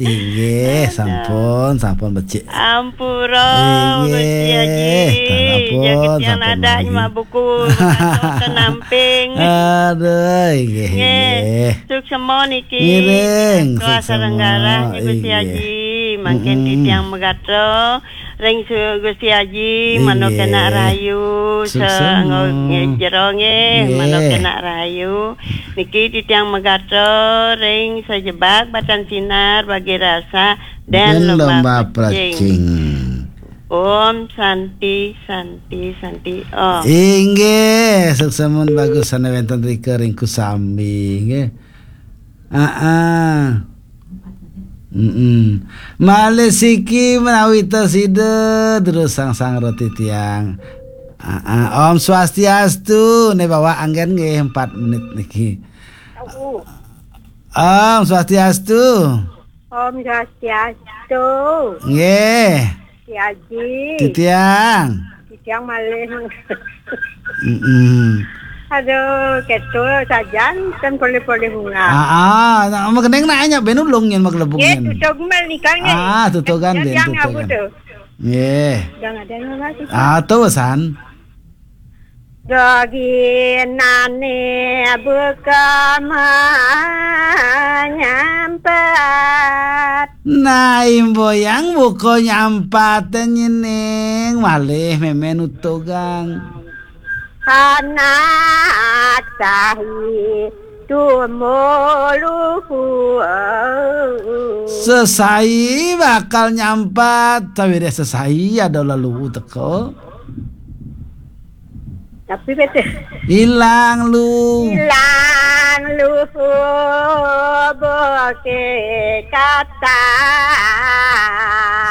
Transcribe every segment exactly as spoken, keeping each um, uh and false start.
Inggih, sampun, sampun becik. Ampura, Inggih, Gusti Haji. Sampun, Jagat yang sampun nadah lagi. Nyemak buku, kata namping. Aduh, inggih, Nggih, inggih. Suksema niki. Ngiring, Ketua suksema, Sarenggara, Gusti inggih. Haji. Mangkin Mm-mm. titiang megatra, ring su-, Gusti Haji, mano Inggih. Kena rahayu, Suksema. Sanggo nggih jero nggih, mano Nggih. Kena rahayu. Niki titiang megatra ring sajebag batan sinar bagi rasa dan Dan lomba lomba precing. Precing. Om Santi, Santi, Santi, Om. Inggih, suksema bagus sane wenten rika ring Kusambi, nggih. Aa. Mm-mm. Malih siki menawi ta sida terus sang-sang roti tiang. Aa. Om Swastiastu, ne bawa anggen nggih empat menit niki. Om Swastiastu. Om Swastiastu. Nggih. Gusti Haji. Titiang. Titiang malih. Mm-mm. Aduh, ketul sajan kan polih-polih bunga. Ah, ah, nak makeneng nak nya ben ulung yen makelebung Nggih, yen. Tutug mal nika nggih. Ah, tutugan Yang ben, yang tutugan. Apa tu? Nggih. Udah ada yang apa tu? Ah, tu san. Doginane buka menyampat. Nah, imboyang buka nyampat nyening malih memen utugang. Anak sahi tumuluhu. Sesai bakal nyampat, tawireh sesai ada lalu teka. Tapi betul. Ilang lu. Ilang lu boke kata.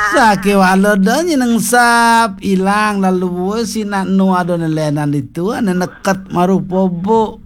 Sake wala da nyenengsap, ilang lalu sinak nu ada nelenan ditu, ane neket marupa buk.